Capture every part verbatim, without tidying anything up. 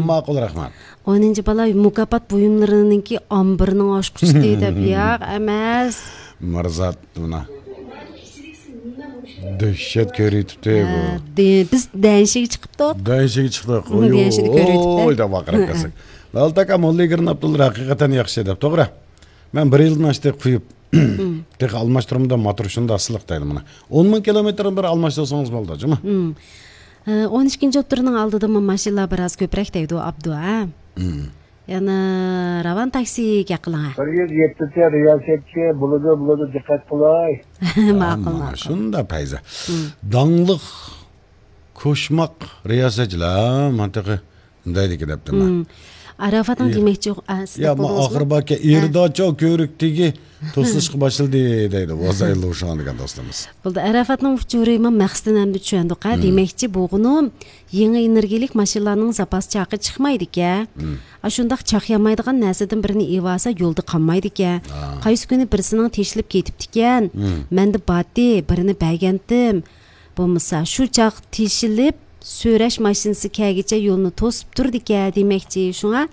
ماقۇل، رەھمەت. ئونىنچى بالا مۇكاپات بۇيۇملىرىنىڭكى ئامبىرىنىڭ ئاچقۇچى دەپ، ياق ئەمەس. مىرزات مانا دەھشەت كۆرۈۋېتىپتۇ بۇ. ھە، دە-، بىز دەنشىگە چىقىپتۇق. دەنشىگە چىقتۇق. ئۇنى دەنشىدە كۆرۈۋېتىپتۇ. ئوي دەپ ۋارقىراپ كەلسەك. مالتاكا موللىگىرنى ئابدۇللا ھەقىقەتەن ياخشى دەپ، توغرا. مەن بىر يىلدىن ئاشتى قويۇپ، تېخى ئالماشتۇرمىدىم، موتور شۇنداق سىلىق دەيدۇ مانا. ئون مىڭ كىلومېتىرنى بىر ئالماشتۇرسىڭىز بولدى، جۇمۇ. ھە، ئون ئىككىنچى ئوتتۇرىنىڭ ئالدىدىمۇ ماشىنىلار بىراز كۆپرەك دەيدۇ، ئابدۇ، ھە؟ يەنە راۋان تاكسىگە قىلىڭ، ھە؟ بىر يۈز يەتتىنچى رىياسەتچى، بولىدۇ، بولىدۇ، دىققەت قىلاي. ماقۇل، ماقۇل. شۇنداق پەيزە. داڭلىق كوشماق رىياسەتچىلەر، مانا تېخى دەيدىكى دەپتىمەن. ئاراپاتنىڭ دېمەكچى، ئە، سىز يا، دەپ ما بولدىڭىزمۇ؟ ئاخىر باركە، ئېرىداچو كۆۋرۈك تېگى توسۇلۇشقا باشلىدى دەيدۇ. ۋازاي لۇشاڭ دېگەن دوستىمىز. بولدى، ئاراپاتنىڭ ئۇچۇرى ما مەقسىتىنى ئەمدى چۈشەندۇق، ھە؟ دېمەكچى، بۇغۇنۇ يېڭى ئېنېرگىيەلىك ماشىنىلارنىڭ زاپاس چاقى چىقمايدىكەن. ئاشۇنداق چاق يانمايدىغان نەرسىدىن بىرنى ئېلىۋالسا يولدا قالمايدىكەن. قايسى كۈنى بىرسىنىڭ تېشىلىپ كېتىپتىكەن. مەندە باتتى، بىرنى بەرگەنتىم. بولمىسا، شۇ چاغ تېشىلىپ، سۆرەش ماشىنىسى كەلگىچە يولنى توسۇپ تۇرىدىكەن دېمەكچى. شۇڭا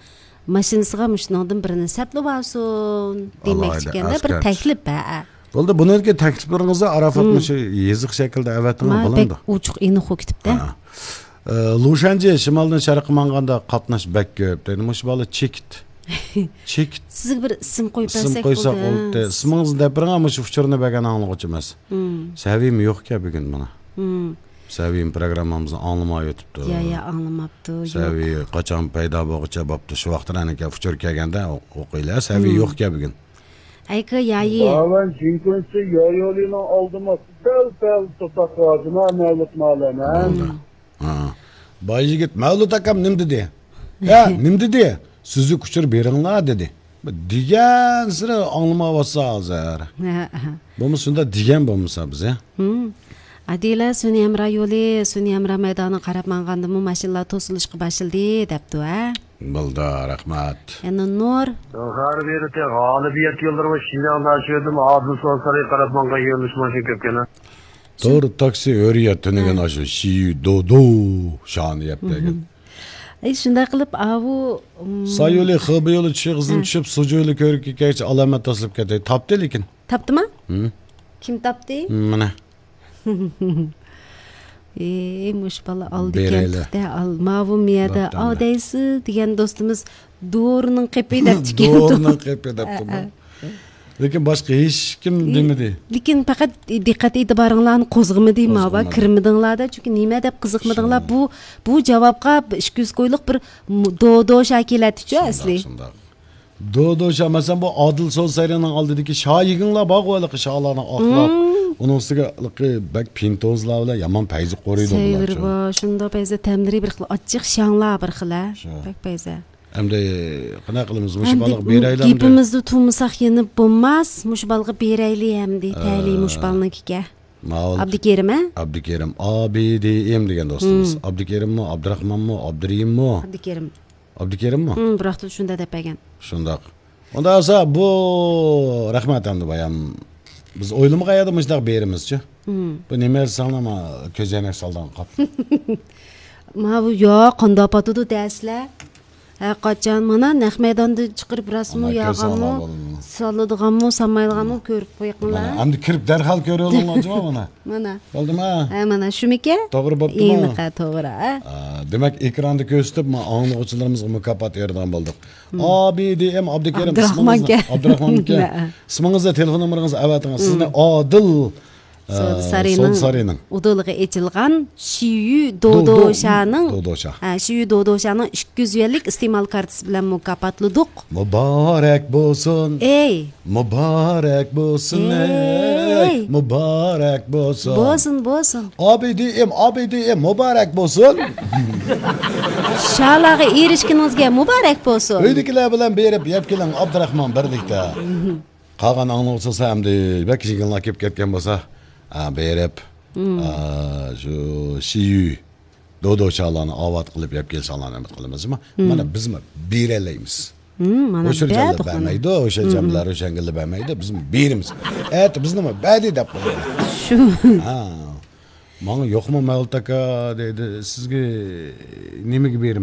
ماشىنىسىغا مۇشۇنىڭدىن بىرنى سەپلىۋالسۇن دېمەكچىكەن-دە، بىر تەكلىپ، ھە. بولدى، بۇنىڭكى تەكلىپلىرىڭىزنى ئاراپات مۇشۇ يېزىق شەكلىدە ئەۋەتىڭ، بولامدۇ؟ بەك ئوچۇق، ئېنىق بولۇپ كېتىپتۇ. ھە. ئە، لۇشەنجى شىمالدىن شەرققە ماڭغاندا قاتناش بەك كۆپ دەيدۇ. مۇشۇ بالا چېكىت. چېكىت. سىزگە بىر ئىسىم قويۇپ بەرسەك بولدى. ئىسىم قويساق بولدى. ئىسمىڭىزنى دەپ بېرىڭ، مۇشۇ ئۇچۇرنى بەرگەن ئاڭلىغۇچىمىز. سەۋىيىم يوقكەن بۈگۈن مانا. سەۋىيىم پروگراممىمىزنى ئاڭلىماي ئۆتۈپتۇ. يا، يا، ئاڭلىماپتۇ، يوق. سەۋىيى قاچان پەيدا بولغۇچە بوپتۇ. شۇ ۋاقىتتا ئەنىكە ئۇچۇر كەلگەندە ئوقۇيلى. سەۋىيى يوقكەن بۈگۈن. ئەيكە يايى. باۋەن جىڭكۇنسى يايولىنىڭ ئالدىما دەل-دەل تۇتاق ۋاجىما مەۋلۇت مالەم، ھە؟ بولدى. ھا. باي يىگىت، مەۋلۇت ئاكام نېمە دېدى؟ ھە، نېمە دېدى؟ سۈزۈك ئۇچۇر بېرىڭلار دېدى. دېگەنسېرى ئاڭلىمايۋاتسا ھازىر. ھە، ھە. بولمىسا شۇنداق دېگەن بولمىسا بىز، ھە؟ ھىم. ئادىلە، سۈنئىي ھەمراھ يولى، سۈنئىي ھەمراھ مەيدانىغا قاراپ ماڭغاندىمۇ ماشىنىلار توسۇلۇشقا باشلىدى دەپتۇ، ھە؟ بولدى، رەھمەت. يەنە نۇر. خەۋەر بېرىتى، غالىبىيەت يوللىرى ۋە شىنجاڭ داشۆدىن ئادىل سوسارىغا قاراپ ماڭغان يۆنىلىش ماشىنا كۆپكەن. تور تاكسى ھۆرىيەت تۈنۈگۈن ئاشۇ شىيۈ دودو شانى يەپ بەرگەن. ئەي، شۇنداق قىلىپ، ئاۋۇ، ئىم، سايولى خېبېيولى چۈشى قىزدىن چۈشۈپ، سۇجۇيلى كۆرۈككە كەچ ئالامەت تاسلىپ كەتتى. تاپتى لېكىن. تاپتىمۇ؟ ھىم. كىم تاپتى؟ مانا. ئېي، مۇشۇ بالا ئالدى كەنتتە، ئال، ماۋۇ مىيەدە، ئاۋ دەيسىز دېگەن دوستىمىز دورىنىڭ قېپى دەپتىكەن. دورىنىڭ قېپى دەپتۇ. لېكىن باشقا ھېچكىم دېمىدى. لېكىن پەقەت دىققەت ئېتىبارىڭلارنى قوزغىمىدى، ماۋا كىرمىدىڭلار-دە، چۈنكى نېمە دەپ قىزىقمىدىڭلار؟ بۇ، بۇ جاۋابقا ئىككى يۈز كويلۇق بىر دودو شا كېلەتتىچۇ ئەسلى. شۇنداق. دودو شا، مەسىلەن، بۇ ئادىل سودا سايرىنىڭ ئالدىدىكى شا يىگىڭلار بارغۇ، ھېلىقى شالارنىڭ ئاقلاپ. ئۇنىڭ ئۈستىگە ھېلىقى بەك پىنتوزلار بىلەن يامان پەيزى قورۇيدۇ بۇلارچۇ. سەۋر بار، شۇنداق پەيزە تەملىرى بىر خىل ئاچچىق شاڭلار بىر خىل، ھە؟ شۇ. بەك پەيزە. ئەمدى قانداق قىلىمىز؟ مۇشۇ بالىغا بېرەيلى ئەمدى. گېپىمىزدە تۇرمىساق يەنە بولماس. مۇشۇ بالىغا بېرەيلى ئەمدى. تەلىي مۇشۇ بالىنىڭكىكە. ئابدۇكېرىم، ھە؟ ئابدۇكېرىم، ئا بى دى ئېم دېگەن دوستىمىز. ئابدۇكېرىممۇ، ئابدۇراخمانمۇ، ئابدۇرېھىممۇ؟ ئابدۇكېرىم. ئابدۇكېرىممۇ؟ ھىم، بىراقتا شۇنداق دەپ بەرگەن. شۇنداق. ئۇنداق بولسا بۇ رەھمەت ئەمدى بايام. بىز ئويلىمىغان يەردە مۇشۇنداق بېرىمىزچۇ. بۇ نېمە ساڭلارما كۆزەينەك سالدىڭ قاپ. ماۋۇ يا قانداق پاتىدۇ دەسلە. ھە، قاچان مانا نەق مەيداندىن چىقىرىپ رەسىمۇ ياغانمۇ، سالىدىغانمۇ، سالمايدىغانمۇ كۆرۈپ قويۇڭلار. مانا، ئەمدى كىرىپ دەرھال كۆرۈۋېلىڭلار جۇما مانا. مانا. بولدىما؟ ھە، مانا شۇمىكەن؟ توغرا بوپتۇما؟ ئېنىق، ھە، توغرا، ھە. ئا، دېمەك، ئېكراندا كۆرسىتىپ، ما ئاڭلىغۇچىلىرىمىزغا مۇكاپات بېرىدىغان بولدۇق. ئا بى دى ئېم ئابدۇكېرىم، ئابدۇراخمانكەن. ئابدۇراخمانكەن. ھە. ئىسمىڭىزنى، تېلېفون نومۇرىڭىزنى ئەۋەتىڭىز. سىزنى ئادىل سودا سارىيىنىڭ ئۇدۇلىغا ئېچىلغان شىيۈ دودوشانىڭ، ھە، شىيۈ دودوشانىڭ ئىككى يۈز يۈەنلىك ئىستېمال كارتىسى بىلەن مۇكاپاتلىدۇق. مۇبارەك بولسۇن. ئەي. مۇبارەك بولسۇن، ئەي. مۇبارەك بولسۇن. بولسۇن، بولسۇن. ئا بى دى ئېم، ئا بى دى ئېم، مۇبارەك بولسۇن. شالارغا ئېرىشكىنىڭىزگە مۇبارەك بولسۇن. ئۆيدىكىلەر بىلەن بېرىپ يەپ كېلىڭ، ئابدۇراخمان بىرلىكتە. قالغان ئاڭلىغۇچىلار ئەمدى بەك يىغىنلار كېلىپ كەتكەن بولسا، ھە، بېرىپ، ھە، شۇ شىيۈ دودوشالارنى ئاۋات قىلىپ يەپ كېلىشىڭلارنى ئۈمىد قىلىمىز. مانا بىزمۇ بېرەلەيمىز. مانا ئوشۇرجانلار بەرمەيدۇ، ئوشۇرجانلار، ئوشەڭگىللار بەرمەيدۇ، بىزمۇ بېرىمىز. ئەتە بىزنىمۇ بەردى دەپ قويىدۇ. شۇ. ھە. ماڭا يوقمۇ مەۋلۇت ئاكا دەيدۇ، سىزگە نېمىگە بېرىمىز؟